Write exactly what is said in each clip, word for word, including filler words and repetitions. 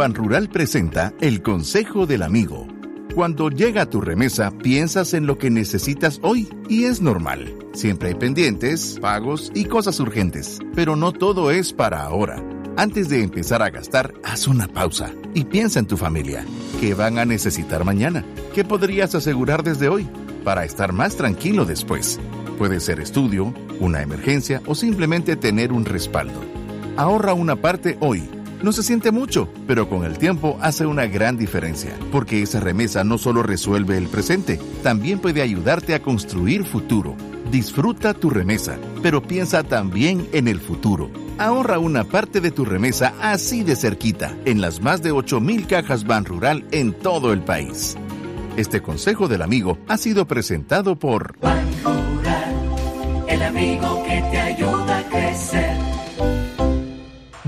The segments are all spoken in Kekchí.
Banrural presenta el Consejo del Amigo. Cuando llega tu remesa, piensas en lo que necesitas hoy y es normal. Siempre hay pendientes, pagos y cosas urgentes, pero no todo es para ahora. Antes de empezar a gastar, haz una pausa y piensa en tu familia. ¿Qué van a necesitar mañana? ¿Qué podrías asegurar desde hoy para estar más tranquilo después? Puede ser estudio, una emergencia o simplemente tener un respaldo. Ahorra una parte hoy. No se siente mucho, pero con el tiempo hace una gran diferencia, porque esa remesa no solo resuelve el presente, también puede ayudarte a construir futuro. Disfruta tu remesa, pero piensa también en el futuro. Ahorra una parte de tu remesa así de cerquita, en las más de ocho mil cajas Banrural en todo el país. Este consejo del amigo ha sido presentado por Banrural, el amigo que te ayuda a crecer.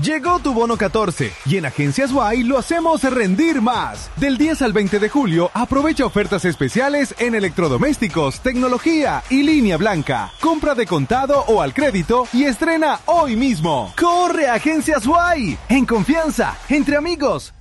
Llegó tu bono catorce y en Agencias Y lo hacemos rendir más. Del diez al veinte de julio, aprovecha ofertas especiales en electrodomésticos, tecnología y línea blanca. Compra de contado o al crédito y estrena hoy mismo. ¡Corre, Agencias Y! En confianza, entre amigos.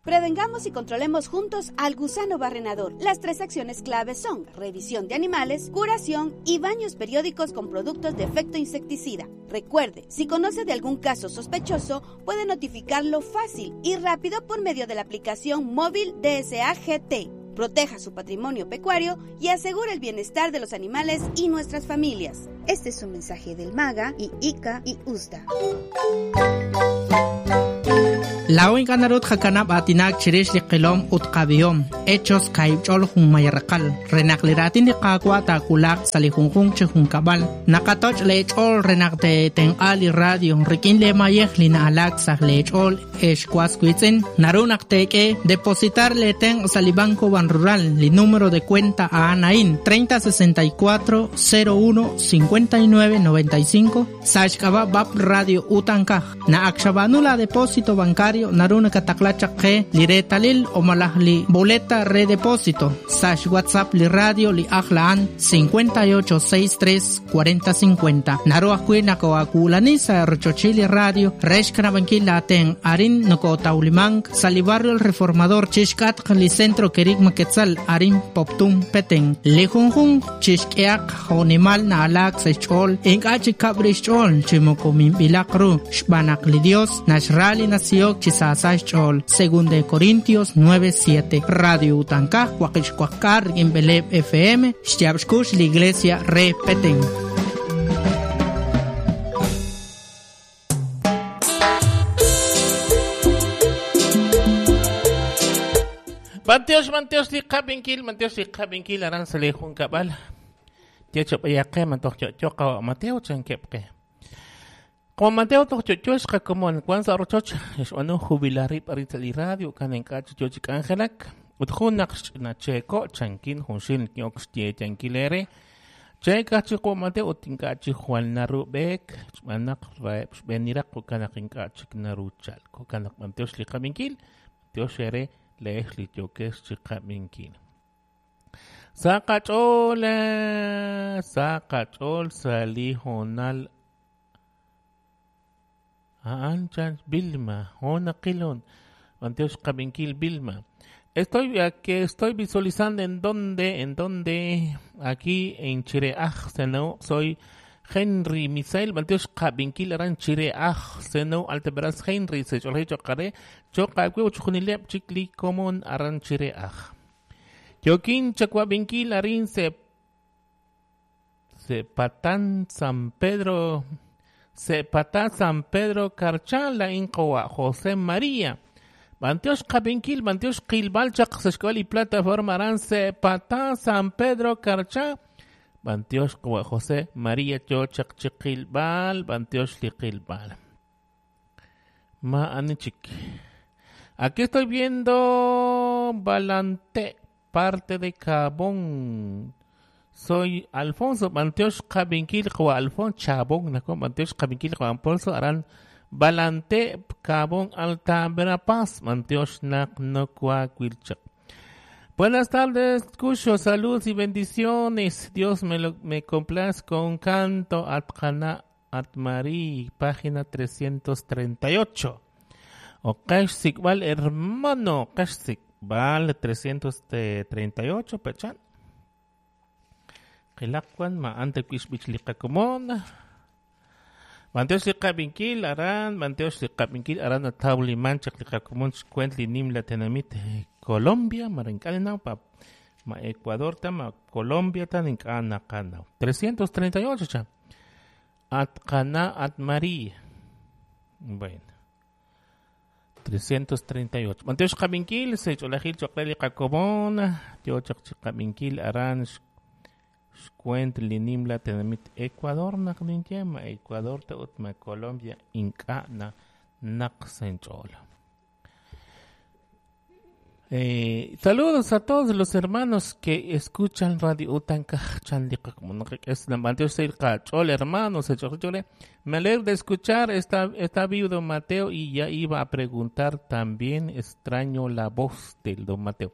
Prevengamos y controlemos juntos al gusano barrenador. Las tres acciones claves son revisión de animales, curación y baños periódicos con productos de efecto insecticida. Recuerde, si conoce de algún caso sospechoso, puede notificarlo fácil y rápido por medio de la aplicación móvil D S A G T. Proteja su patrimonio pecuario y asegure el bienestar de los animales y nuestras familias. Este es un mensaje del MAGA y I C A y U S D A. La oin kanarut jakanab atinak chirish li qilom ut qabihom hechos kaibchol junmayarqal renaq liratin li qaqwa takulaq sali junjun che junkabal naqatoch lechol renaq te tenqal li radio rikin le mayej li naalak saj lechol excuascuitzen narunak teke depositar le ten sali banco Banrural li número de cuenta a anain treinta sesenta y cuatro cero uno cincuenta y nueve noventa y cinco sachkaba bab radio utankaj na akshabanula depósito bancario naruna kataklacha ke liretalil o malahli boleta redepósito sash WhatsApp li radio li ajlaan cincuenta y ocho sesenta y tres cuarenta cincuenta naru ajwi nakoakulanisa rochochili radio reshkanabankil aten arin nokotaulimank sali barrio el Reformador chishkat li centro kerigma quetzal arin poptum peten li junjun chishkeak jonimal na alak sechol inkachi kabrichol chimokomimbilakru xbanak li Dios nashrali nasiok Chisasachol, según de Corintios nueve siete. Radio Utankaj, Huaquixcuacar, Beleb F M, Xtiabxcush, la Iglesia Repeten. Manteos, manteos, liqabinkil, manteos, liqabinkil, aran salejun cabal. Tiachopayaqe, mantoq Mateo chankepke. Como Mateo toqchochoshqa como en Kwanza rochoch, xb'anu jubilarib aritz li radio kan enkaach chochik Angelak, ut junaq xch'inacheko chankin junxil kiok xtiechankilere, cheka chiqo Mateo tinkachi Juan Narubek, xb'anaq raeb xb'eniraq kanaq inkaach naruchalko kanaq Mateo xliqabinkil, Mateo xere leej lichokes chiqabinkil. Saqach'ol, saqach'ol salijonal Anchan Vilma, Ona Quilón, Manteos Cabenquil Vilma. Estoy aquí, estoy visualizando en dónde, en dónde, aquí en Chireaj, Seno, soy Henry Misael, Manteos Cabenquil, Aran Chireaj, Seno, Alteveras Henry, se chocaré, Choca, Chunilep, Chicli, Común, Aran Chireaj. Yoquín, Chacuabenquil, Arin, se, se Patán, San Pedro. Sepatá San Pedro Carchala Incoa José María Banteos Cabenquil Banteos Quilbalchak Sescual y plataforma Aran Sepatá San Pedro Carchá Banteos José María Chochak Chiquilbal Banteos Liquilbal Ma Anichik. Aquí estoy viendo Balante, parte de Cabón. Soy Alfonso Manteos Cabenquil, Alfonso Chabón, Manteos Cabenquil, Alfonso Aran Balante, Cabón, Alta Verapaz, Manteos Nak Nocua Quilchak. Buenas tardes, Cucho, saludos y bendiciones. Dios me, lo, me complazca con un canto Atjana Atmarí, página trescientos treinta y ocho. O qax sikbal hermano, qax sikbal trescientos treinta y ocho pechan. Qilaqwan ma ante kuixbich liqakomon. Manteos liqabinkil aran, manteos liqabinkil aran atawliman chaq liqakomon xkuent li nim la tenamit Colombia, marinkalinaw pa ma Ecuador ta ma Colombia ta nink'ana qanaw. trescientos treinta y ocho cha. At qana at María. Bueno. trescientos treinta y ocho. Manteos qabinkil se cholajil choqreli qakomon, tio chaq chiqabinkil aran xkuent li nim la tenamit Ecuador naq ninye ma Ecuador ta ut ma Colombia ink'ana naq sench'ola. Eh, saludos a todos los hermanos que escuchan Radio Utanka hermanos. Me alegro de escuchar, está, está vivo don Mateo y ya iba a preguntar también, extraño la voz del don Mateo.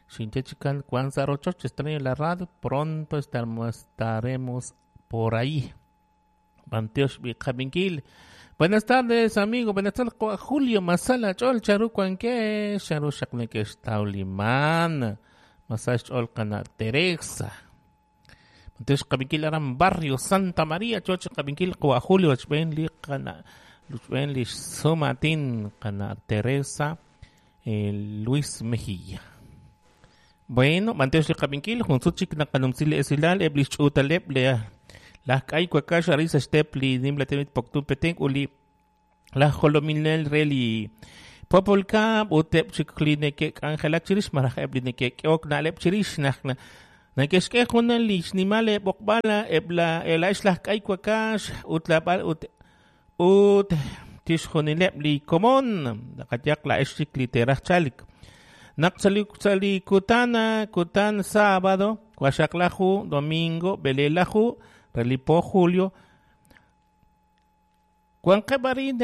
Shinchechikan Kwanzarochoch, extraño la radio, pronto estaremos por ahí. Banteosh Biqabinkil. Buenas tardes, amigo. Buenas tardes, Julio Masala, Chol, Charu, Cuanque, Charu, Shakneke, Tauliman, Masal, Chol, Cana, Teresa. Banteosh Qabinkil, Aram, Barrio, Santa María, Choch, Qabinkil, Cua, Julio, Chben, Cana, Luchben, Sumatín, Cana, Teresa, eh, Luis Mejía. Bueno, Banteosh Qabinkil, Junsuchik, Nakanumsile, Esilal, Eblich, Utaleb, Lea. Las kay kwakash arisa stepli nimla temit poktun peteng uli la jolominel reli popolka utep chikline ke angela chirish maraj ebline ke ok nalep chirish nakna nakeshke junan lich nimale bokbala ebla elash las kay kwakash utlabal ut ut tishjonilep li komon nakatyak la eshik teraj chalik naqsali sali kutana kutan sábado kwashaklahu domingo belelahu Relipo Julio Cuanqebarin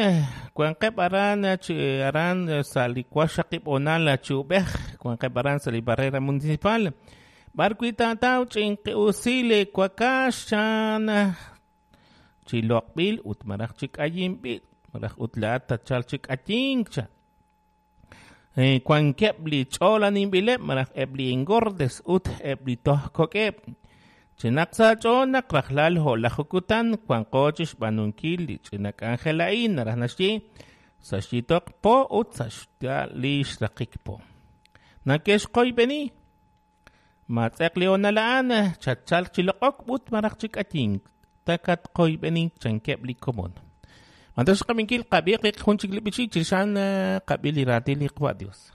Cuanqebaran aran salicuashaqib onala chubej Cuanqebaran sali barrera municipal Barquita tau chinqe usile cuacashan Chiloqbil utmaraj chikayimbil maraj utlata chalchik atincha Cuanquebli cholanimbilep maraj ebli engordes ut ebli tohkokeb Chinaksa chonak rajlal holajukutan cuancochish banunkil chinak angelain narajnashi sashitok po ut sashtalish rakikpo. Nakesh koy beni matzek leonalaan chachal chilokok ut marachik ating takat koy beni chankebli komon. Mantas kaminkil kabiq junchik lipichi chishan kabili ratili kwa Dios.